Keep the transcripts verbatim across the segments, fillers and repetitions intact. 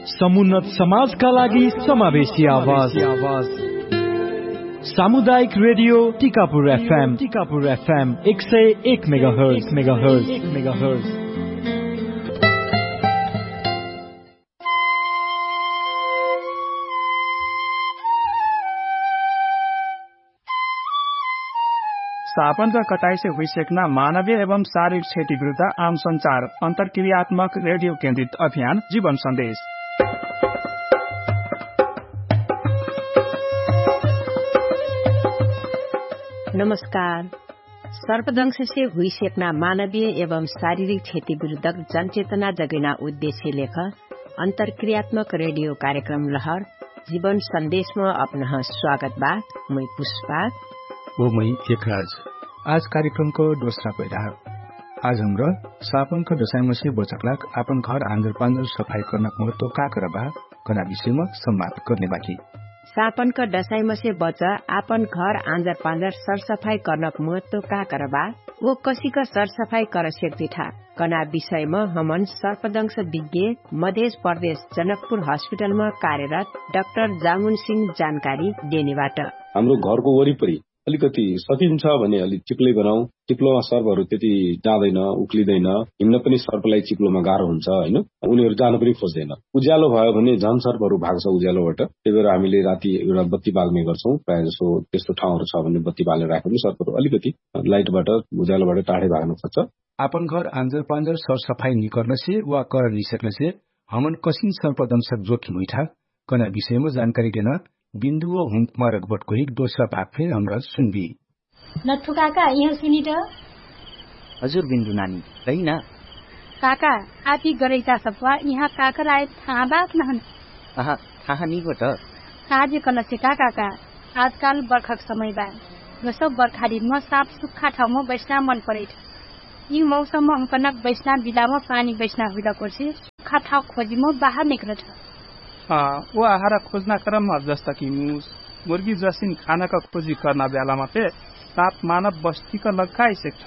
समुन्नत समाजका लागि समावेशी आवाज। सामुदायिक रेडियो टिकापुर एफएम टिकापुर एफएम एक सय एक मेगाहर्ज मेगाहर्ज मेगाहर्ज। सापनका कटाइसे हुइसेक्ना मानवीय एवं शारीरिक क्षति विरुद्ध आम संचार अन्तरक्रियात्मक रेडियो केन्द्रित अभियान जीवन सन्देश। नमस्कार। सर्पदंशसे हुइसेक्ना मानवीय एवं शारीरिक क्षति विरुद्धक जनचेतना जगैना उद्देश्य लेख अन्तरक्रियात्मक रेडियो कार्यक्रम लहर जीवन सन्देशमा अपनह स्वागत बा। मुइ पुष्पा। ओ मुइ एकराज। आज कार्यक्रमको दोस्रा पैरा। आज हमरा सापनक दसाइमसे बचकलाक आपन घर आन्जर पान्जर सफाइ कर्नक महत्व का करबा कना विषयमा सम्वाद कर्ने बाकी। सापनक दसाइमसे बच आपन घर आन्जर पान्जर सरसफाइ कर्नक महत्व का करबा? ओ कसिक सरसफाइ करसेक दिठा कना विषयमा हमन सर्पदंश विज्ञ मधेश प्रदेश जनकपुर हस्पिटलमा कार्यरत डक्टर जामुन सिंह जानकारी देनेबाट। हाम्रो घरको वरिपरि अलिकति सकिन्छ भने अलि चिप्लै बनाउ। चिप्लोमा सर्पहरू त्यति जाँदैन, उक्लिँदैन। हिँड्न पनि सर्पलाई चिप्लोमा गाह्रो हुन्छ, होइन? उनीहरू जान पनि खोज्दैन। उज्यालो भयो भने झन् सर्पहरू भाग्छ उज्यालोबाट। त्यही भएर हामीले राति एउटा बत्ती बाल्ने गर्छौँ। प्रायः जसो त्यस्तो ठाउँहरू छ भने बत्ती बालेर राख्यो भने सर्पहरू अलिकति लाइटबाट, उज्यालोबाट टाढै भाग्न खोज्छ। आपन घर आन्जर पान्जर सरसफाइ निकर्नसे वा कर निसक्नसे हमन कसिन सर्पदंशक जोखिम हुइठा कना विषयमा जानकारी देन बिन्दु व हुँक मारक बटको हिक दोस्रा भाग फेर हमरा सुनबी। नथु काका, यहाँ सुनिट। हजुर बिन्दु नानी, कहिना? काका, आपी गरैता सप्वा यहाँ काकर आए थाहा बात नहन। अहा, थाहा निगो त। काजे कनसे का काका, आजकाल बर्खाक समय बा। गसो बर्खारिनमा साप सुक्खा ठाउँमा बैस्ना मन परैठ। यी मौसममा हुँकनक बैस्ना बिलामा पानी बैस्ना हुइला कोर्से सुक्खा ठाउँ खोजिमा बाहर निकरठ। अँ, ओ आहारा खोजना क्रममा जस्ता कि मुस मुर्गी जसिन खानाका खोजी कर्ना ब्यालामा फे साप मानव बस्तीका लग्का आइसेक्ठ।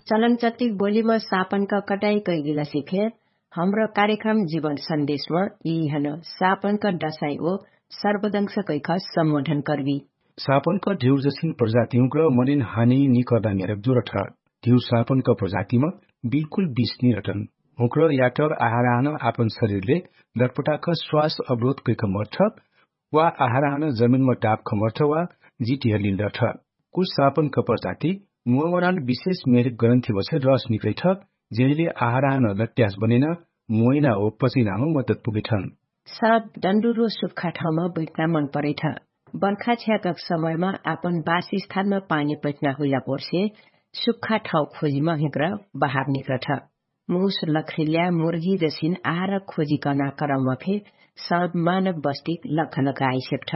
चलनचट्टिक बोलीमा सापनका कटाई कैगिला सिफे, हमरा कार्यक्रम जीवन सन्देशमा यी हन सापनका दसाई ओ सर्वदंश कैख सम्बोधन कर्वी। सापनका ढेउर जसिन प्रजातिहुँक मनिन हानी निकर्ना मेरक जुरठ। ढेउर सापनका प्रजातिमा बिल्कुल बिस निरटन हुँक्र याटर आहाराहन आपन शरीरले दर्पटाक स्वास अवरोध कैक मर्ठ वा आहाराहन जमिनमा डाप खमर्ठ वा जिटिहलिन रठ। कुछ सापनका प्रजाति मोवरान विशेष मेरिक ग्रन्थि बसे रस निकैठ, जेहिले आहाराहन लट्यास बनेन मोइना ओ पचिनाम मद्दत पुगेठन। साप डन्डुरो सुक्खा ठाउँमा बैठना मन परैठ। बर्खा छ्याकक समयमा आपन बासस्थानमा पानी बैठना हुइला पोर्से सुक्खा ठाउँ खोजिमा हिक्र बहार निक्रठ। मुस लख्रिल्या मुर्गी जसिन आहार खोजी कर्ना करममा फे साप मानव बस्तिक लखनक आइसेक्ठ।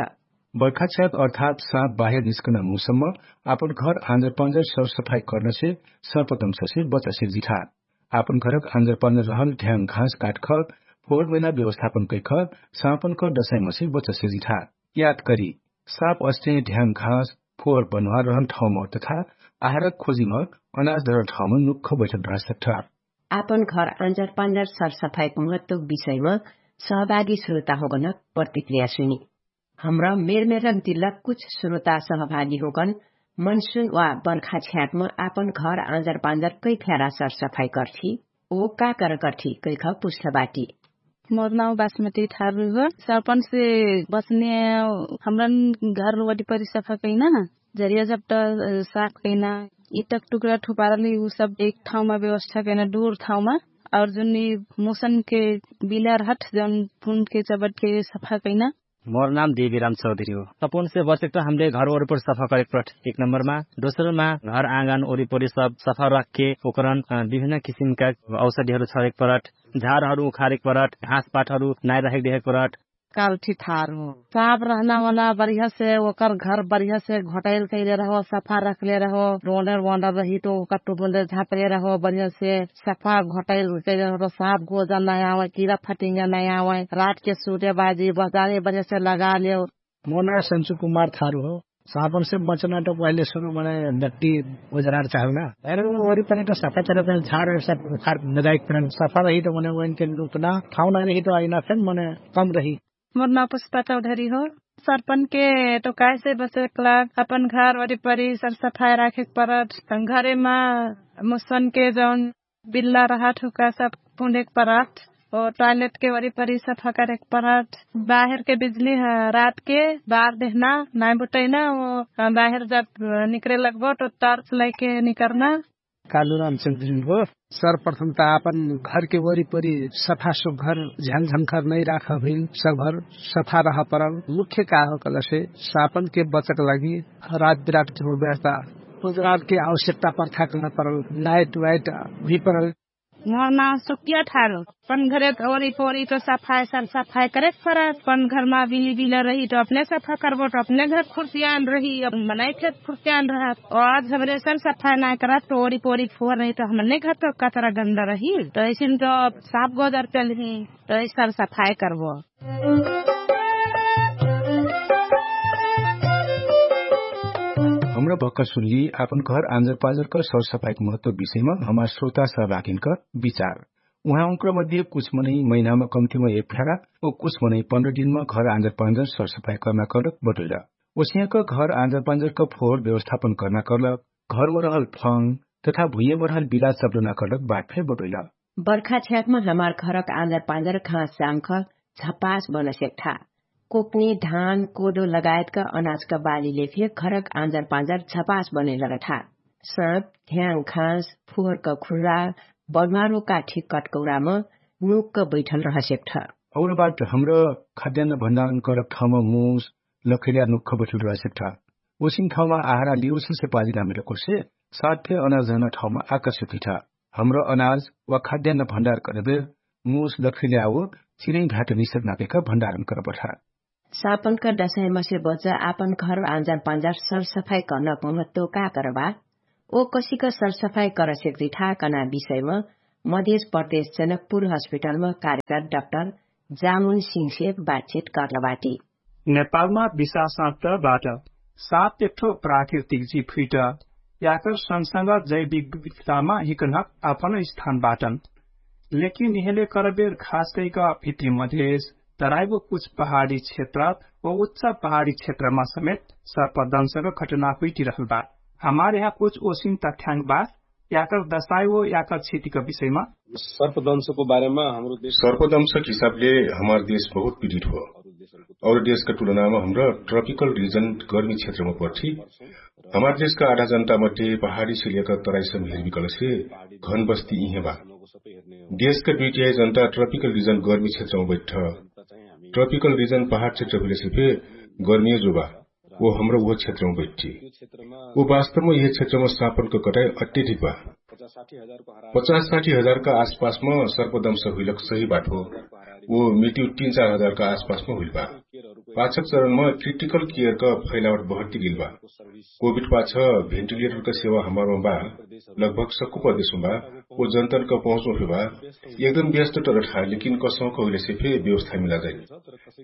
बर्खा छ्याक अर्थात साप बाहेर निस्कना मुसम्म आपन घर आन्जर पान्जर सरसफाइ कर्नसे सर्पदंशसे बचसेक जिठा। आपन घरक आन्जर पान्जर रहल ढ्याङ घाँस काटखर फोहोर मैना व्यवस्थापन कैखर सापनकर दसाइमसे बचसेक जिठा। याद करी, साप अस्ते ढ्याङ घाँस फोहोर बनुवा रहल ठाउँमा तथा आहारक खोजिमा अनाज रहल ठाउँमा नुक्ख बैठल रहसक्ठ। आपन घर आन्जर पान्जर सरसफाइक महत्वक विषयमा सहभागी श्रोता होगनक प्रतिक्रिया सुनी। हमरा मेरमेरक दिल्लक कुछ श्रोता सहभागी होगन मनसुन वा बर्खा छ्याकमा आपन घर आन्जर पान्जर कै फ्यारा सरसफाइ कर्ठी ओ का कर कर्ठी कैख पुछ्ठ बाटी। मोर नाउ बासमती ठारु हो। सर्पन से बचने हमरन घर वरिपरि सफा कैना जरिया जब त साफ कैना इटक टुक्रा ठुपारली उ सब एक ठाउँमा व्यवस्था कैना डुर ठाउँमा। और जुन मुसन के बिला रहट जौन फुन के चबट के सफा कैना। मोर नाम देवीराम चौधरी हो। सपुन से बचेक त हमरे घर वरिपरि सफा करेक परट एक नम्बरमा। दोस्रमा घर आँगन वरिपरि सब सफा राखके ओकरन विभिन्न किसिमका औषधिहरू छरेक परट, झारहरू उखारेक परट, घाँसपाटहरू नाइ राखेक देखेक परट। काल्ठी ठार हो साप रहना वाला बढिया से ओकर घर बढिया से घोटैल कैले रहो सफा राखले रहो। रोनर वनर रही त ओकर टुबुले झापले रहो बढिया से सफा घोटैल कैले रहो साप गोजा नाइ आवै किरा फटिङ्गा नाइ आवै। रात के सुते बाजी बजारे बढिया से लगाले। मोर नाम सन्चु कुमार थारु हो। सापन से बचना त पहिले सुरु मने नट्टी उजरार चाहना। अरे वरिपरि त सफा तरफ झार सफा लगाइक फरन सफा रही त मने वैन के लुकना ठाउँ ना रही त आइना फेन मने कम रही। मोर नाउ पुष्पा चौधरी हो। सर्पन के टोकाए से बचेक लाग अपन घर वरिपरि सरसफाइ राखेक परत। घरेमा मुसन के जौन बिल्ला रहत हुका सब पुँधेक परत। ओ टोइलेट के वरिपरि सफा करेक परत। बाहेर के बिजली ह रात के बार देहना नाइ बुटैना। ओ बाहेर जब निकरे लगबो त टर्च लैके निकरना। कालुराम चौधरी हो। सर्वप्रथम त आपन घरके वरिपरि सफा सुग्घर झ्यालझङ्खर नै राख हुइल सफा रह परल। मुख्य का हो कहलसे सापनके बचक लागि रात बिरात के व्यवस्था उजरालके आवश्यकता पर्था कर्ना परल। लाइट वाइट हुइ परल। मोर नाउ सुकिया ठारो। अपन घरे त ओरी पोरी त सफाइ सर सफाइ करेक परत। अपन घरमा बिली बिला रही त अपने सफा करबो त अपने घर खुर्सियान रही। अब मनै फेर खुर्सियान रहत। आज हमरे सर सफाइ नाइ करत त ओरी पोरी फोर रही त हमने घर त कचरा गन्दा रही। त अइसिन त साफ गोजर पेलही। त अइसन सफाइ करबो। हमरा भक्का सुनली आपन घर आँजर पाँजर क सरसफाइक महत्व विषयमा हमार श्रोता सहभागिनक विचार। उहाँ उनकर मध्ये कुछ मनै महिनामा कम्तिमा एक फेरा ओ कुछ मनै पन्ध्र दिनमा घर आँजर पाँजर सरसफाइ कर्ना करक बटोइला। ओसियाक घर आँजर पाँजर क फोहोर व्यवस्थापन कर्ना करलक घरमा रहल फङ तथा भुइयामा रहल बिराज सब्लना करलक बात फे बटोइला। बर्खा छ्याकमा हमार घरक आँजर पाँजर घाँस जाङ्ख झपास बनसेक्ठा। कोक्नी धान कोदो लगायतका अनाजका बालीले फे घरक आँजर पाँजर झपास बनैलगठा। साँप ध्याङ घाँस फुहरका खुर्रा बढ्वारो काठी कटकौरामा नुक्क बैठल रहसेक्ठा। और बात हमरा खाद्यान्न भण्डारण करक ठाउँमा मुस लखैल्या नुक्ख बैठल रहसेक्ठा। ओसिन ठाउँमा आहारा लिउसलसे पाजिना मिलकोसे साथ फे अनाज रहना ठाउँमा आकर्षित हुइठा। हमरा अनाज वा खाद्यान्न भण्डार करबे मुस लखैल्या वा चिरै घाट निसक नापेका भण्डारण करबठा। सापनका दसैमसे बच आपन घर आँजर पाँजर सरसफाइ कर्नक महत्व का करबा? ओ कसिक सरसफाइ करसेक दिठा कना विषयमा मधेस प्रदेश जनकपुर हस्पिटलमा कार्यकर डक्टर जामुन सिंहसे बातचित कर्लबाटी। नेपालमा विशासन्त बाट साप एक्ठो प्राकृतिक जीव हुइट याकर संसंग जैविक विविधतामा हिकनक आपन स्थान बाटन। लेकिन इहेले करबेर खास कैक भित्री मधेस तराइबो कुछ पहाडी क्षेत्र व उच्च पहाडी क्षेत्रमा समेत सर्पदंशक घटना हुइटिरहल बा। हमार यहाँ कुछ ओसिन तथ्याङ्ग बा याकर दसाइ व याकर क्षतिक विषयमा। सर्पदंशको बारेमा हाम्रो देश सर्पदंशक हिसाबले हमार देश बहुत पिडित हो। और देशका तुलनामा हमरा ट्रपिकल रिजन गर्मी क्षेत्रमा पर्थी। हमार देशका आधा जनता मध्ये पहाडी सिलियाका तराइसम हेर्बिकलसे घन बस्ती इहे बा। देशका दुइटिहाइ जनता ट्रपिकल रिजन गर्मी क्षेत्रमा बैठ। ट्रपिकल रिजन पहाड क्षेत्र हुइलेसे फे गर्मियो जो बा। ओ हमरा उहो क्षेत्रमा बैठी। ओ वास्तवमा यह क्षेत्रमा सापनक कटाइ अत्यधिक बा। पचास साठी हजारका आसपासमा सर्पदंश हुइलक सही बात हो। ओ मृत्यु तीन चार हजारका आसपासमा हुइल बा। पाछक चरणमा क्रिटिकल केयरक फैलावट बहर्ती गेल बा। कोभिड पाछ भेन्टिलेटरक सेवा हमारमा बा। लगभग सक्कु प्रदेशमा बा। ओ जनतनक पहुँचमा फे बा। एकदम व्यस्त टरठा लेकिन कसौक हुइलेसे फे व्यवस्था मिला जाइ।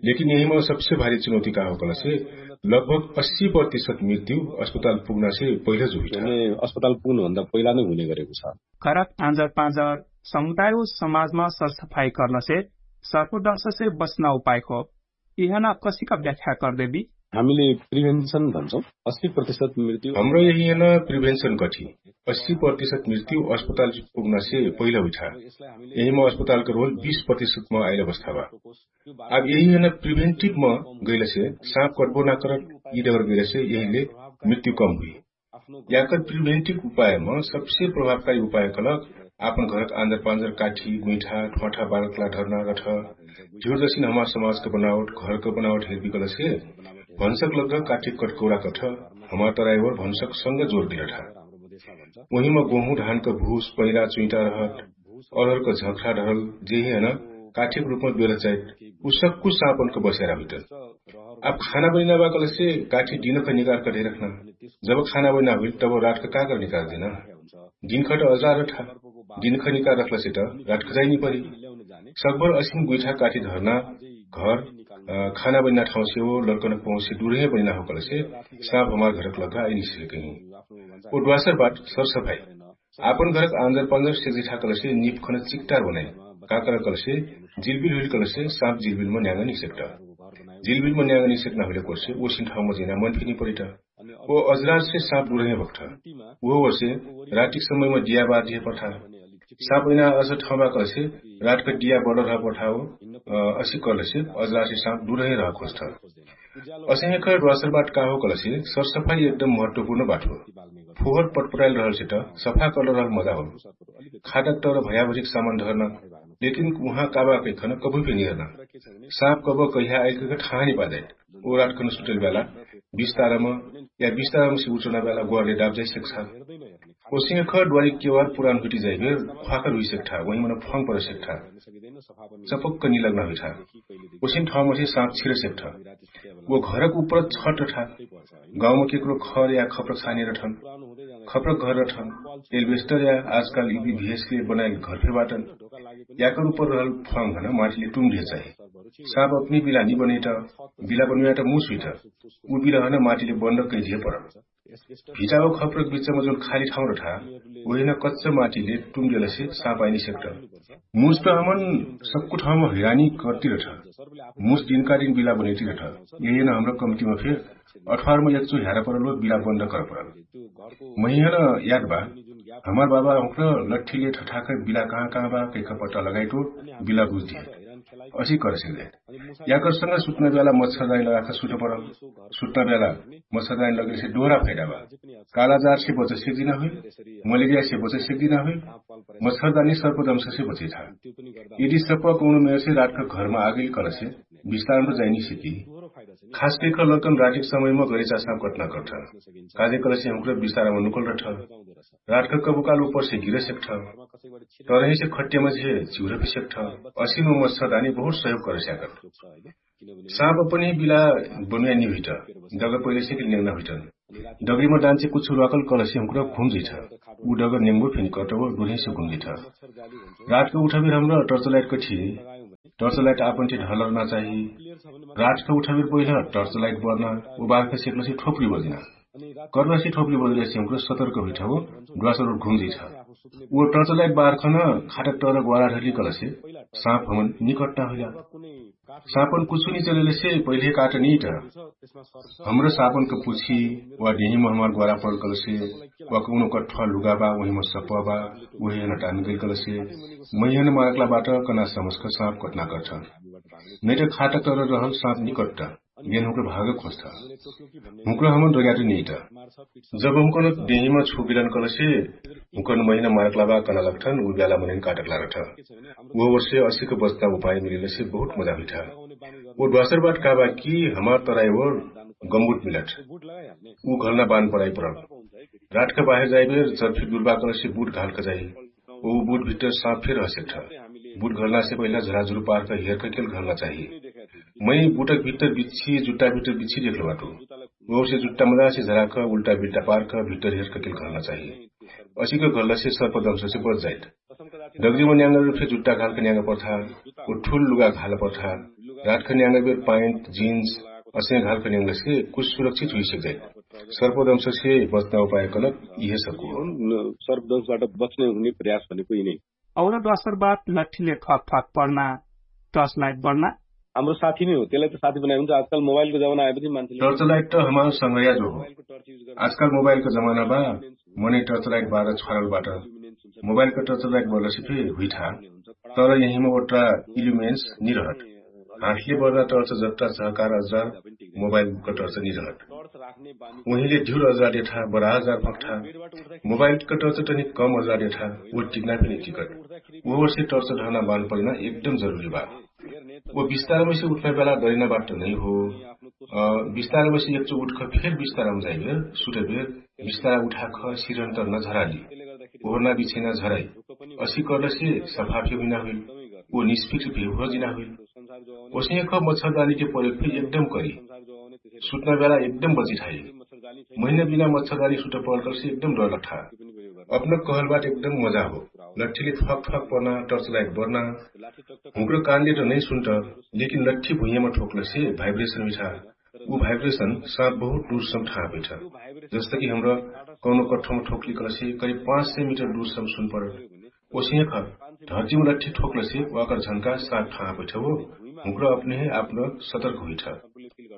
लेकिन यहिमा सबसे भारी चुनौती का हो कहलासे लगभग अस्सी प्रतिशत मृत्यु अस्पताल पुग्नासे पहिला जो हुइठा। अस्पताल पुग्नुभन्दा पहिला नै हुने गरेको छ। घरक आँजर पाँजर समुदाय व समाजमा सरसफाइ कर्नसे सर्पदंशसे बच्ना उपाय हो। इहना कसिका व्याख्या कर्देबी? हामीले प्रिभेन्सन भन्छौँ। अस्सी प्रतिशत मृत्यु हमरा यहिना प्रिभेन्सन कठी। अस्सी प्रतिशत मृत्यु अस्पताल पुग्नासे पहिला हुइठा। यहिमा अस्पतालक रोल बीस प्रतिशतमा आइल अवस्था बा। अब यहिना प्रिभेन्टिभमा गैलसे साँप कटबो ना करत। यि डगर गैलसे यहिले मृत्यु कम हुइ। याकर प्रिभेन्टिभ उपायमा सबसे प्रभावकारी उपाय कहलक आपन घरक आँजर पाँजर काठी गुइठा ठ्वाठा बारतला ढर्ना गठ। ढिउर जसिन हमार समाजक बनावट घरक बनावट हेर्बिकलसे भन्सक लग्ग काठी कटकौरा कठ। हमार तराइवर भन्सक संग जोर दिलठा। ओहिमा गोहु धानक भुस पैरा चुइटा रहत अरहरक झखरा ढरल जेहि हन काठीक रुपमा बेरह चाइट उ सक्कु साँपनक बस्यारा हुइटन। आब खाना बनिना बा कहलेसे काठी दिनक निकारक ढेरखना। जब खाना बनिना हुइल तब रातक काकर निकारदेना? दिनखट अजारठा। दिनखनिका रखलसे त रातखजाइ निपरी। सकभर असिन गुइठा काठी धर्ना घर खाना बनिना ठाउसे हो लर्कन पहुँसे दुरहे बनिना हो कलसे साँप हमार घरक लग्गा आइ निसिले कहिँ। ओ ड्वासर बाट सरसफाइ आपन घरक आन्जर पान्जर सेक्जिठा कलसे निपखन चिक्टार बनाइ। काकर कलसे जिलबिल हुइल कलसे साँप जिलबिलम न्याङ्ग निसेक्ट। जिलबिलम न्याङ्ग निसेक्ट नहुइले कोर्से ओसिन ठाउम जैना मन फिनी परिट। ओ अजरारसे साँप दुरहे भक्ठ। उहो वर्षे रातिक समयम डिया बार दिहे पठा। साँप अइना अस ठाउमा कलसे रातक डिया बडर ह पठाओ। असिक कलसे अजरारसे साँप दुरहे रह खोज्ठ। असहेखर ड्वासर बाट का हो कलसे सरसफाइ एकदम महत्वपुर्ण बाट हो। फोहर पटपटाइल रहलसे त सफा कलर रहल मजा हो। खाटक तर भयाभरिक सामान धर्ना लेकिन उहाँ काबा कैखन कभुइ फेनी हर्ना। साँप कब कैहा आइल कैख ठाहनी पाजाइट। ओ रातखन सुटल ब्याला बिस्तारम या बिस्तारम से उचना ब्याला ग्वारले डाब जाइ सेक्छा। ओसिंह ख ड्वारी केवार पुरान हुइटी जाइबेर ख्वाखर हुइ सेक्ठा वहिमन फङ्ग पर सेक्ठा। चपक्क निलग्ना हुइठा। ओसिन ठाउमसे साँप छिर सेक्ठा। ओ घरक उपर छट ठा। गाउँम केकरो खर या खप्र छाने रठन। खप्र घर रठन एल्बेस्टर या आजकाल इबी भेसके बनाइल घर फे बाटन। याकर उपर रहल फङ्ग हन माटीले टुङ्ग दिहे चाही। साँप अपनी बिला निबनैट। बिला बनुयाट मुस हुइट। उ बिला हन माटीले बन्द कैदिहे परल। भिटाओ खप्रक बिचम जौन खाली ठाउँ रठा ओहिन कच्च माटीले टुङ्गेलसे साँप आइनी सेक्ट। मुस त हमन सक्कु ठाउँ हैरानी कर्ति रठा। मुस दिनकारिन बिला बनैति रठा। यहिन हमरा कम्तिम फेर अठवारमा एक्चो ह्यारा परल हो बिला बन्द कर परल। महिहन याद बा हमार बाबा हुँक्र लठ्ठीले ठठाकै बिला कहाँ कहाँ बा कैख पट्टा लगाइटो बिला बुझ दिहे। असी कर सिक्जाइट। याकर संग सुत्न ब्याला मच्छरदानी लगाख सुत परल। सुत्न ब्याला मच्छरदानी लगेसे डोहरा फैदा बा। कालाजारसे बचै सेक्दिना हुइल। मलेरियासे बचै सेक्दिना हुइल। मच्छरदानी सर्पदंशसे बचै था। यदि सप्प कौनो मेरसे रातक घरमा आगेल कलसे बिस्तारम त जाइनी सिकी। खास कैख लर्कन रातिक समयमा गरे चासना कटना कट्ठ। काजे कलसे हुँक्र बिस्तारम नुकल रठ। रातक कबुकाल उपरसे गिर सेक्ठ। तरहिसे खट्यमसे चिउर फे सेक्ठ। असिन मच्छरदानी बहुत सहयोग कर स्याकट। साँप अपनी बिला बनुया निहुइट। डगर पहिलेसे कि नेङ्ना हुइट। डगरीमा डान्चे कुछ रुवाकल कलसे हुँक्र घुम जैठ। उ डगर नेङ्गो फेनी कटव डुरहिसे घुम जैठ। रातक उठबिर हमरा टर्चलाइट कठी। टर्चलाइट आपन्ठे ढलरना चाही। रातक उठबिर पहिला टर्चलाइट बर्ना। उ बारका सेक्लसे ठोपरी बजिना। कर्नासे ठोपरी बजिलेसे हुँक्र सतर्क हुइठ हो। ड्वासर घुम जैठ। उ टर्चलाइट बारखन खाटक टर ग्वारा ढली कलसे साँप हमन निकट्टा हुइला। साँपन कुछु निचलेलेसे पहिले काट निट। हमरा साँपनक पुछी वा डेहिम हमार ग्वारा परल कलसे वा कौनो कठ्वा लुगा बा उहिम सप्प बा। उहे हन टान गैल कलसे महिहन मारकला बाट कना समस्क साँप कट्ना कट्ठ। नैट खाटक तर रहल साँप निकट्टा। गेन हुँक्र भाग खोज्ठ। हुँक्र हमन डोर्याटु निट। जब हुँकन देहिमा छुबिलन कलसे हुँकन महिना मारकला बा कना लग्ठन उ ब्याला मनैन काटकला रठ। उहो वर्षे असिक बच्ता उपाय मिलेलसे बहुत मजा हुइठा। ओ ड्वासर बाट का बा कि हमार तराई ओर गम्बुट मिलठ। उ घलना बान पराई परल। रातक बाहेर जाइबेर चर्फी दुर्बा कलसे बुट घालक जाइ। ओ बुट भित्तर साँप फेर हसेक्ठ। बुट घलनासे पहिला झराझुरु पारक हेरक केल घलना चाही। मै बुटक भित्तर बिच्छी जुट्टा भित्तर बिच्छी देखलो बाटु। ओसे जुट्टा मजासे झराक उल्टा बिल्टा पारक भित्तर हेरक केल घलना चाही। असिक घलसे सर्पदंशसे बच जाइट। डगरीमा न्याङ्गर रुपसे जुट्टा घालक न्याङ्ग पर्था। ओ ठुल लुगा घाल पर्था। रातक न्याङ्गर बेर पाइन्ट जिन्स असे घालक न्याङ्गसे कुछ सुरक्षित हुइसक जाइट। सर्पदंशसे बच्ना उपाय कलक इहे सक्कु हो। सर्पदंशबाट बच्ने हुने प्रयास भनेको यिनै। और ड्वासर बात लठ्ठीले ठ्वाक ठ्वाक पढ्ना, टर्च लाइट बढ्ना। हाम्रो साथी नै हो त्यसलाई त साथी बनाए हुन्छ आजकल मोबाइलको जमाना आएपछि मान्छेले टर्च लाइट त हमार संगैया जो हो। आजकल मोबाइलको जमाना बा। मनै टर्च लाइट बार छरल बाट। मोबाइलको टर्च लाइट बढ्लसे फे हुइठा। तर यहीमा ओट्रा इल्युमेन्स निरहट। हातले बढ्ना टर्च जट्टा सहकार अजार मोबाइलको टर्च निरहट। उहिले ढ्युर अजार देठा बढा अजार फक्ठा। मोबाइलको टर्च तनि कम अजार देठा। ओ टिकना फेरि टिकट। ओहरसे टर्च ढहना बान परिना एकदम जरुरी बा। ओ बिस्तारमैसे उठ्ना बेला डरिना बात त नै हो। बिस्तारमैसे एक्चो उठख फेर बिस्तारम जाइबेर सुटबेर बिस्तारा उठाख सिरन्तर न झराली। ओहरना बिछैना झराइ। असी कर्लसे सफाफे हुइना हुइल। ओ निष्फिक्र भे हुर्जिना हुइल। ओसही ख मच्छरदानी के प्रयोग फेर एकदम करी। सुतना बेला एकदम बचित है। महिना बिना मच्छरदानी सुत पहल करसे एकदम डर लठा। अपना कहल बात एकदम मजा हो। लठीले थक थक पर्ना टर्च लाइट बर्ना। हुँक्र कानले त नै सुन्त, लेकिन लठ्ठी भुइयामा ठोक्लसे भाइब्रेसन मिठा। उ भाइब्रेसन साँप बहुत दूरसम ठाहा पैठ। जस्तकि हमरा कौनो कठ्ठोमा ठोक्ली कलसे करिब पाँच सय मिटर दूरसम सुन परत। ओसही ख धर्तिम लठ्ठी ठोक्लसे वाकर झन्का साँप ठाहा पैठ हो। हुँक्र अपने हे आपन सतर्क हुइठ।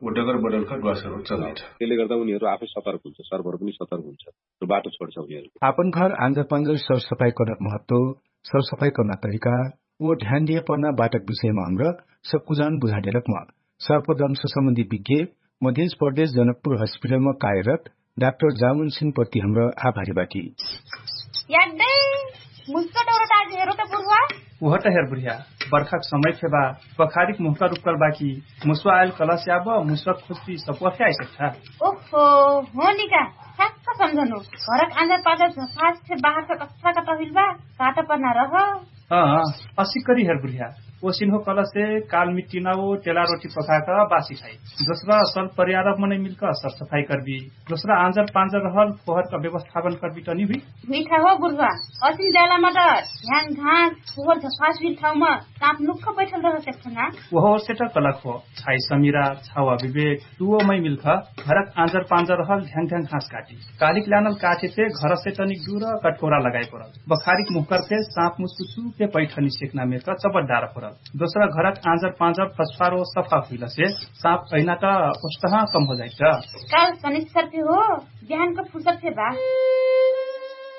उ डगर बडल ख ड्वासर चल्लैठ। तेले गर्दा उनीहरू आफै सतर्क हुन्छ, सर्भर पनि सतर्क हुन्छ। बाटो छोड्छ उनीहरू। आपन घर आन्जर पान्जर सरसफाई कर्ना महत्व, सरसफाई कर्ना तरिका, ओ ध्यान दिए पर्ना बाटक विषयमा हमरा सक्कुजान बुझाडेलक म सर्पदंश सम्बन्धी विज्ञ मधेश प्रदेश जनकपुर हस्पिटलमा कार्यरत डाक्टर जामुन सिंह प्रति हमरा आभारी बाटी। यादै मुस्क डोरो ताज हेरो त बुर्वा। उहट हेर बुर्वा। बर्खाक समय फेबा बखारिक मुहका रुक्कल बाकी मुस्वा आयल कलस याब मुस्वा खुस्ती सपुवा फे आइसक्ठा। ओहो, होनिका। ठ्याक्क सम्झनु। घरक आन्जर पाजर झफास फे बाहर फे कत्था कत्था हुइल बा। काट पर्ना रह। अँ, असिक करी हेर बुर्वा। ओ सिन्हो कलसे काल मिट्टिना ओ टेला रोटी पकाक बासी खाइ। दोस्रा सल परियारक मनै मिल्क सरसफाई कर्बी। दोस्रा आन्जर पान्जर रहल फोहरक व्यवस्थापन कर्बी तनी हुइ। मिठा हो बुर्वा। असिन जालामा त ह्याङ घाँस फोहर झफास हुइल ठाउँमा साँप नुक्ख बैठल रह सक्छ ना। ओहो सेट कलक हो। छाइ समिरा छावा विवेक। तुवो मै मिल्ख घरक आँजर पाँजर रहल ढ्याङ ढ्याङ घाँस काटी। कालिक ल्यानल काठे फे घरसे तनिक दुर कटकोरा लगाइ परल। बखारिक मुहकर फे साँप मुसुसु फे पैठनी सेक्ना मेरक चबट डार परल। दोस्रा घरक आँजर पाँजर फस्फारो सफा हुइलसे साँप अइना त ओस्तहा कम हो जाइट। काल सनिस्सर फे हो। बिहानको फुर्सद फे बा।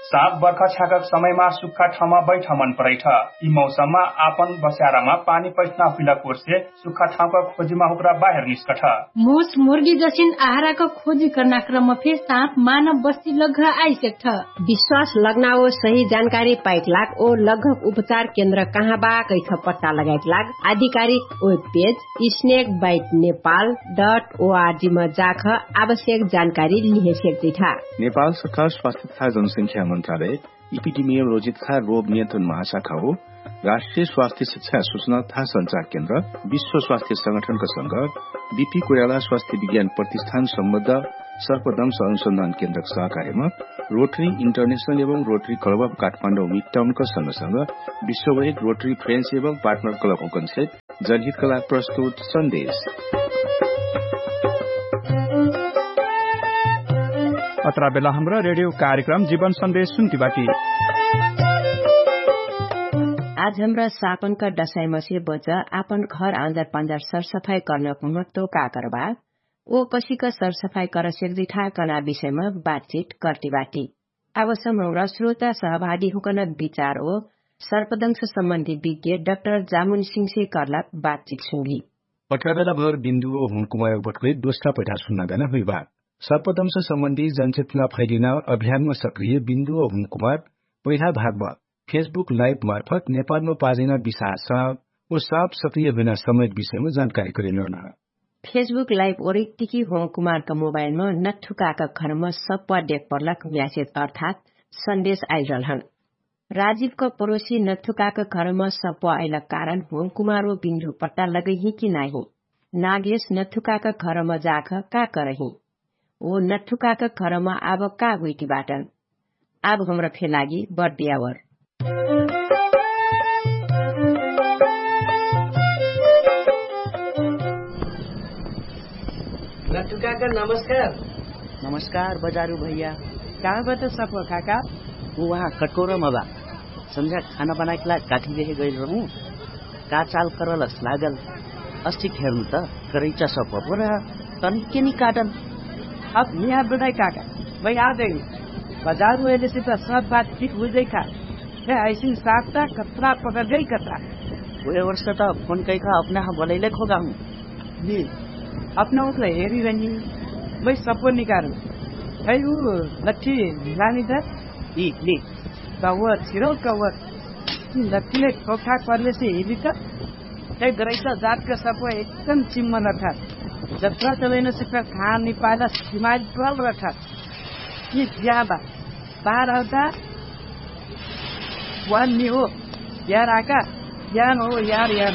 साँप बर्खा छ्याकक समयमा सुक्खा ठाउँमा बैठ मन परैठ। यि मौसममा आपन बस्यारामा पानी पैठना हुइला कोर्से सुक्खा ठाउँका खोजिमा हुक्रा बाहेर निस्कठ। मुस मुर्गी जसिन आहाराक खोजी कर्ना क्रम फे साँप मानव बस्ती लग्घ आइसेक्ठ। विश्वास लग्नाओ सही जानकारी पाइक लाग ओ लग्घक उपचार केन्द्र कहाँ बा कैख पट्टा लगाइक लाग आधिकारिक web page snake bite Nepal dot ओआरजी म जाख आवश्यक जानकारी लिहे सेक्दैठा। नेपाल सरकार स्वास्थ्य तथा जनसंख्या मन्त्रालय इपिडिमियोलोजी तथा रोग नियन्त्रण महाशाखा हो। राष्ट्रिय स्वास्थ्य शिक्षा सुचना तथा सञ्चार केन्द्र विश्व स्वास्थ्य संगठनका संग बिपी कोइराला स्वास्थ्य विज्ञान प्रतिष्ठान सम्बद्ध सर्पदंश अनुसन्धान केन्द्रक सहकार्यमा रोटरी इन्टरनेशनल एवं रोटरी क्लब अफ काठमाण्डौ मिडटाउनका संग संग विश्ववैक रोटरी फ्रेन्स एवं पार्टनर क्लब हुकन्से जलहितका लाग प्रस्तुत सन्देश। अत्रा बेला हमरा रेडियो कार्यक्रम जीवन सन्देश सुन्ति बाटी। आज हमरा सापनका डसाइमसे बच आपन घर आँजर पाँजर सरसफाई कर्नक महत्व का करबा ओ कसिक सरसफाई करसेक दिठा कर्ना विषयमा बातचित कर्ति बाटी। आवसम हमरा श्रोता सहभागी हुकन विचार ओ सर्पदंश सम्बन्धी विज्ञ डक्टर जामुन सिंहसे कर्लाक बातचित सुन्गी। पट्राबेला भर बिन्दु ओ हुनकुमायक बटुकै दोस्रा पैठा सुन्ना गना हुइबा। सर्पदंश सम्बन्धी जनचेतना फैलिना अभियानमा सक्रिय बिन्दु ओ हुनकुमार पहिला भागमा फेसबुक लाइभ मार्फत नेपालमा पाजैना विशाल साप ओ साप सक्रिय हुइना समयक विषयमा जानकारी करिनोना। फेसबुक लाइभ ओरिकतिकी होमकुमारक मोबाइलमा नथुकाक घरमा सप्वा देख पर्लक म्यासेज अर्थात सन्देश आइरहलहन। राजिवक परोसी नथुकाक घरमा सप्वा अइलक कारण होमकुमार ओ बिन्दु पट्टा लगैही कि नाहि? नागेश नथुकाक घरमा जाख का करही? ओ नथुकाक घरमा आब का गुइटी बाटन? आब हमरा फे लागि बर्दियावर। नथु काका नमस्कार। नमस्कार बजारु भैया। कहाँ बा त सफवा काका? उ वहाँ कटकोरा मा बा। संझा खाना बनाइक लाग काठी देहे गइल रहु। का चाल करलस लागल? अस्टिक हेर्नु त करैचा सफवा पुरा तनिके नि काटन। अब निहा बेदाइ काका, मै आ देउ। बजारु अइलेसे त सब बात ठीक हुइजै खा। हे ऐसिन साथ त कत्रा पकर्जै कत्रा। उहे वर्ष त फोन कैखा अपना ह बोलैले खोगा हु। नि अपना उतला हेरी रहनी। मै सफवा निकारु। है उ लट्ठी लानी त। इ नि त व छिरौ कवर। लट्ठीले ठोकठाक पर्लेसे हिली त। तै गरैसा जातका सफवा एकदम चिम्मन रखा। जत्रा चलैन सिक्का खान निपाला सिमाइल टोल रखा। कि ज्या बा बाहर आउता। वान नि हो यार आका। यान हो यार यान।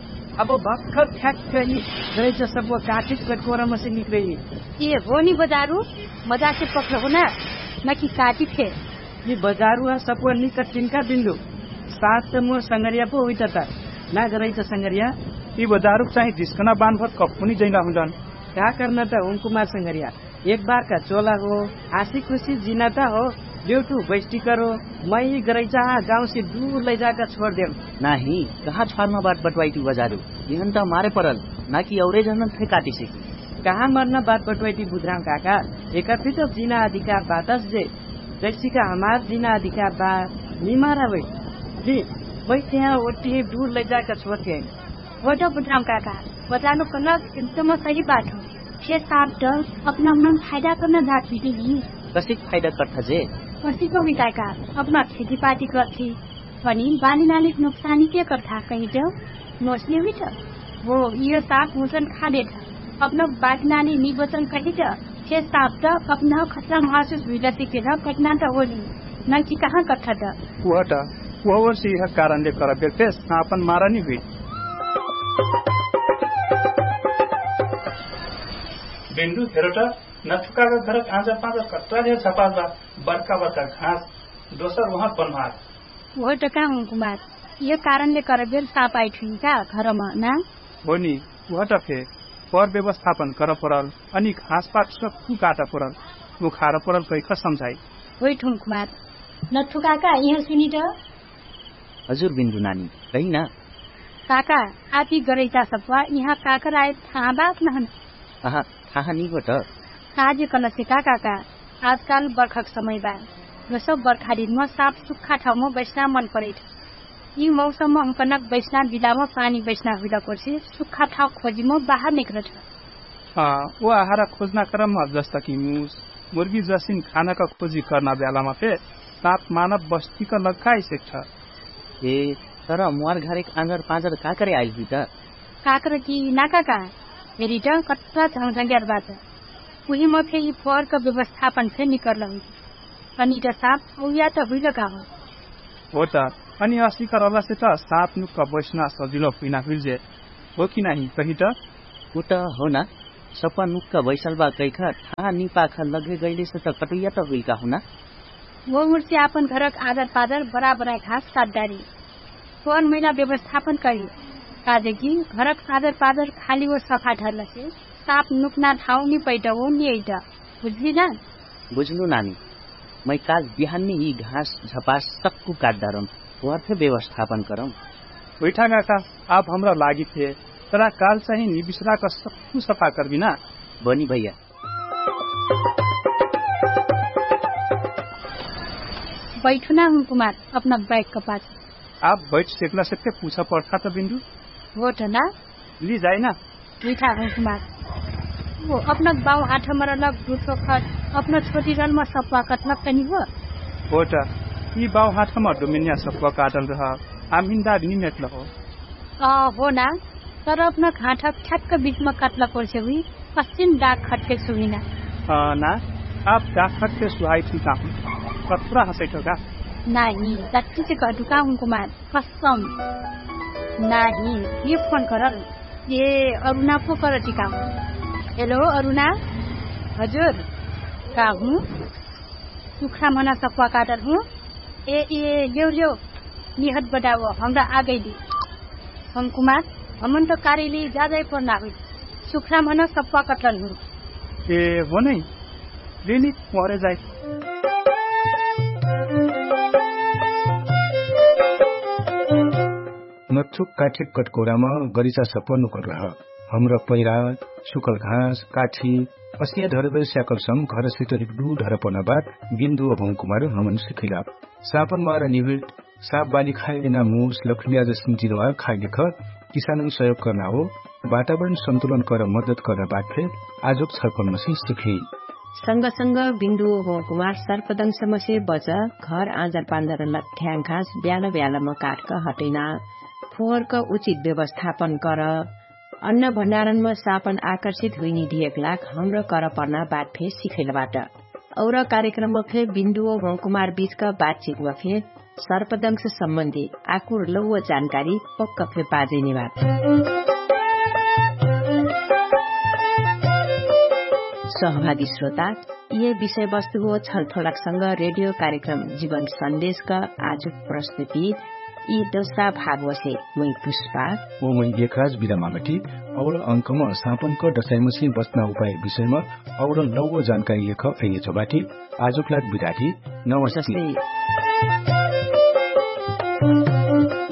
अब भक्खर ठ्याक्क यि गैचा सप्वा काटिक कटकोरा मसे निकरैली। ए हो नि बजारु, मजासे पक्ल हो ना, नकि काटिक हे। यि बजारु आ सप्वा निकट्टिन का बिन्दु। साथ त मोर संगरिया पो हुइता त ना गरैचा संगरिया। यि बजारुक चाहिँ जिस्कना बान्भर कप्पुनी जैना हुँदन। का कर्ना त हुँकुमार संगरिया, एक बार का चोला हो, आसी खुसी जिना त हो। देउठु बैस्टी करो, मै यि गरैचा आ गाउँसे दुर लैजाका छोर देम। नाही, कहाँ छ्वारमा बाट बटवाइटी बजारु? यहन त मारे परल, नाकि औरे जनन फे काटिसे कि? कहाँ मर्ना बाट बटवाइटी बुद्राम काका? एका फिट जिना अधिकार बातस जे जैसिका हमार जिना अधिकार बा। निमारा वै, जी, मै त्यहाँ ओट्टी दुर लैजाका छोर देम। वटा बुद्राम काका, बजारु कनक एकदम सही बात हो। छे साप त अपना मन फाइदा कर्ना जात हुइटी नि। कसिक फाइदा कर्था जे? कसिक हुइता का, अपना खेतीपाती कर्थी, पनि बानीनाली नोक्सानी के कर्था कहिट? नोसने हुइट। हो, इयो साप हुसन खा देठ। अपना बानीनाली निबचन कहिट, छे साप त अपना खतरा महसुस हुइला सिकेर कटना त होली। नकि कहाँ कठ्ठा त? उहट, उहवर्ष इह कारणले करबेर फेस सापन मारा नि हुइ। बेन्डु हेरोट, नथुकाका घरक आँजर पाँजर कट्रा धेर झपास बा, बर्का बर्का घाँस, दोसर उहाँ पन्हार। उहट का हुँकुमार, इह कारणले करबेर साप आइठुइ का घरमा ना? होनी, उहट फे, पर व्यवस्थापन कर परल, अनि घाँसपात सक्कु काट परल, उखार परल कैख सम्झाइ। होइठुन कुमार, नथुकाका इहाँ सुनिट। हजुर बिन्दु नानी, कहिना? काका, आती गरैता सप्वा इहाँ काकर आए थाहा बात नहन? अहा, थाहा निगोट। काजे कलसे का काका, आजकाल बर्खक समय बा। गसो बर्खादिनमा साप सुक्खा ठाउमा बैस्ना मन परैठ। यि मौसममा हुँकनक बैस्ना बिलामा पानी बैस्ना हुइला कोर्से सुक्खा ठाउ खोजिमा बाहर निकरठ। अँ, ओ आहारा खोजना क्रममा जस्ता कि मुस, मुर्गी जसिन खानाका खोजी कर्ना ब्यालामा फे साप मानव बस्तीक लग्काइ सेक्ठ। हे, तर मुवार घरेक आँजर पाँजर काकरे आइल हुइट? काकर कि नाका का? हेरिट, कट्रा झङ्झङ्ग्यार बात। उहिमा फे यि फोहरक व्यवस्थापन फे निकर्ल हुइट। अनि इट साप औया त हुइल का हो? हो त, अनि असिक रलसे त साप नुक्क बैस्ना सजिलो हुइना हुइल जे। हो कि नाही कहिट? उ त हो ना, सप्वा नुक्क बैसल बा कैख थाहा निपाख लगे गैलेसे त कटुइया त हुइल का हो ना? वो मुर्सी आपन घरक आदर पादर बराबराइ घाँस काटदारी। फोहर मैला व्यवस्थापन करी। काजेकि घरक आदर पादर खाली वो सफा ढर्लसे साप नुक्ना ठाउ नि पैट वो नि अइट। बुझली ना? बुझनु नानी, मै काल बिहान मे यि घाँस झपास सक्कु काटदारम। फोहर फे व्यवस्थापन करम। हुइठा काका, आप हमरा लागि फे तरा काल चाहिँ निबिसराक सक्कु सफा करबी ना? बनी भैया। बैठु ना हुँकुमार, अपना बैग कपास। आप बैठ सेकला सेक्ते पुछ पर्थात बिन्दु। होठ ना? लिजाइ ना। मिठा हुँकुमार, अपना बाउ हाठमर लग दुठो खट अपना छोटी रलमा सप्वा कटलक तनि हो? होठ। यि बाउ हाठमर डोमेनिया सप्वा काटल रह। आमिन्दार निमेटल हो। हो ना, तर अपना घाँठक ठ्याक्क बिचमा काटलक होर्से हुइ। कस्सिन डाक खट्टे सुहिना। ना, आप डाक खट्टे सुहाइ ठिका हुँ। कत्रा हसैठो का? नाही, दट्टी से गडुका हुँकुमार। कस्सम। नाही, ये फोन करल। ये अरुणा पो करटिका हुँ। हेलो अरुणा। हजुर। का हुँ? सुख्रा मना सप्वा काटल हुँ। ए ए ल्यौ ल्यौ। निहत बडाओ हमरा आगैली। हुँकुमार, हमन त कारेली जाजाइ पर्ना हुइ। सुख्रा मना सप्वा काटल हुँ। ए हो नै। लिनी मोहरे जाइ। नच्छुक काठिक कटकोरामा गरिचा सप्वा नुकरलह। हमरा पैरा, सुकल घाँस, काठी, असिया ढरबेर स्याकलसम घरसित हिक्दु ढरपना बात बिन्दु अभौकुमार हमन सिखैला। सापन मार निभिट साप बाली खाइलेना मुस लखुलिया जसिन जिनवार खाइलेख किसानन सहयोग कर्ना हो। वातावरण सन्तुलन कर मद्दत कर्ना बात फे आजुक छर्पन मसे सिखी। संग संग बिन्दु अभौकुमार सर्पदंसमसे बच, घर आँजर पाँजर लठ्याङ घाँस ब्याल ब्यालम काटक हटैना, फोहरक उचित व्यवस्थापन कर। अन्न भण्डारणम सापन आकर्षित हुइनी ढियक लाग हमर करपर्ना बात फे सिखैलबाट। और कार्यक्रमम फे बिन्दुओ हुँकुमार बिचक बातचितम फे सर्पदंश सम्बन्धी आकुर लौव जानकारी पक्क फे पाजैनी बात। सहभागी श्रोता, यि विषयवस्तु हो छलफलक संग रेडियो कार्यक्रम जीवन सन्देशक आजु प्रस्तुति यि दोस्रा भाग वसे। मुइ पुष्पा। ओ मुइ एकराज बिदा मागटी। और अंकम सापनको डसाइमुसी बच्ना उपाय विषयम और लौव जानकारी यख अइने छोबाटी। आजुक लाग बिदाटी। नमस्ते।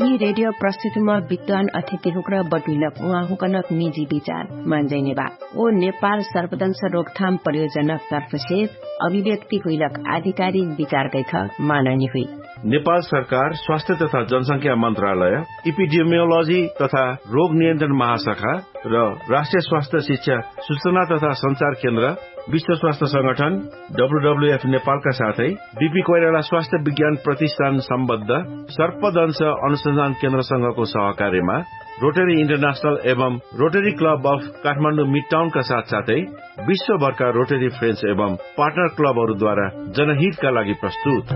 यि रेडियो प्रस्तुतिम विद्वान अथिति हुक्र बटुइनक उहाँ हुकनक निजी विचार मान्जैने बा। ओ नेपाल सर्वदंश रोकथाम प्रयोजनक तर्फसे अभिव्यक्ति हुइलक आधिकारिक विचार गैथ मानैने हुइ। नेपाल सरकार स्वास्थ्य तथा जनसंख्या मन्त्रालय, इपिडिमियोलोजी तथा रोग नियन्त्रण महाशाखा र राष्ट्रिय स्वास्थ्य शिक्षा सूचना तथा सञ्चार केन्द्र, विश्व स्वास्थ्य संगठन, डब्ल्युडब्ल्युएफ नेपालका साथै बिपी कोइराला स्वास्थ्य विज्ञान प्रतिष्ठान सम्बद्ध सर्पदंश अनुसन्धान केन्द्रसँगको सहकार्यमा रोटरी इन्टरनेशनल एवं रोटरी क्लब अफ काठमाडौँ मिडटाउनका साथसाथै विश्वभरका रोटरी फ्रेन्च एवं पार्टनर क्लबहरूद्वारा जनहितका लागि प्रस्तुत।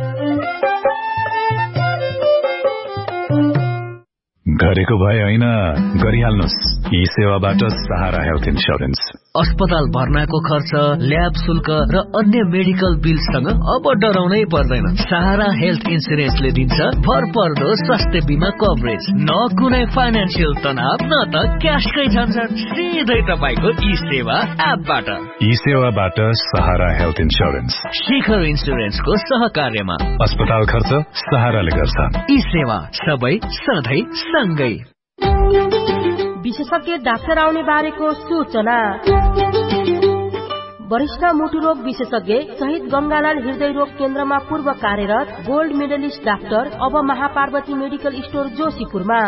गरेको भए होइन, गरिहाल्नुस्। यी सेवाबाट सहारा हेल्थ इन्स्योरेन्स। अस्पताल भर्नाको खर्च, ल्याब शुल्क र अन्य मेडिकल बिल्ससँग अब डराउनै पर्दैन। सहारा हेल्थ इन्स्योरेन्सले दिन्छ भरपर्दो स्वास्थ्य बिमा कभरेज। न कुनै फाइनेन्सियल तनाव, न त क्यासकै झन्झट। सिधै तपाईंको यी सेवा एपबाट। यी सेवाबाट सहारा हेल्थ इन्स्योरेन्स। शिखर इन्स्योरेन्सको सहकार्यमा। अस्पताल खर्च सहाराले गर्छ। यी सेवा सबै सधैँ सँगै। विशेषज्ञ डाक्टर आउने बारेको सूचना। वरिष्ठ मुटुरोग विशेषज्ञ शहीद गंगालाल हृदय रोग केन्द्रमा पूर्व कार्यरत गोल्ड मेडलिस्ट डाक्टर अब महापार्वती मेडिकल स्टोर जोशीपुरमा।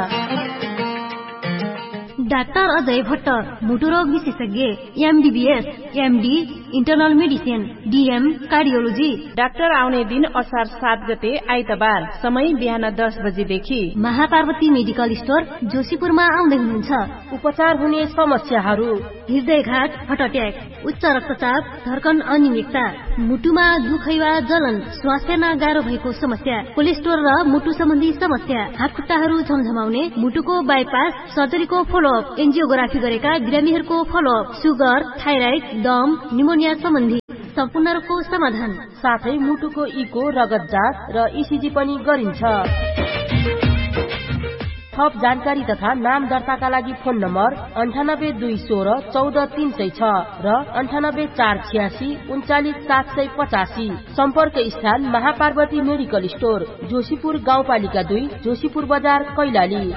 डाक्टर अजय भट्ट, मुटुरोग विशेषज्ञ, एमडिबिएस, MD, internal medicine, DM, cardiology. Doctor आउने दिन असार सात गते आइतबार, समय बिहान दस बजेदेखि। महापार्वती मेडिकल स्टोर जोशीपुरमा आउँदै हुनुहुन्छ। उपचार हुने समस्याहरू। हृदयघात, हटट्याक, उच्च रक्तचाप, धर्कन अनिमिकता, मुटुमा दुखैवा जलन, स्वास्थ्यमा गाह्रो भएको समस्या, कोलेस्ट्रोल र मुटु सम्बन्धी समस्या, हातखुट्टाहरू झमझमाउने, मुटुको बाइपास सर्जरीको फलोअप, एन्जियोग्राफी गरेका बिरामीहरूको फलोअप, सुगर, थाइराइड, दम, निमोनिया सम्बन्धी सम्पूर्ण रोगको समाधान। साथै मुटुको इको रगत जाँच र इसिजी पनि गरिन्छ। थप जानकारी तथा नाम दर्ताका लागि फोन नम्बर अन्ठानब्बे दुई सोह्र चौध तीन सय छ र अन्ठानब्बे चार छियासी उन्चालिस सात सय पचासी। सम्पर्क स्थान महापार्वती मेडिकल स्टोर, जोशीपुर गाउँपालिका दुई, जोशीपुर बजार, कैलाली।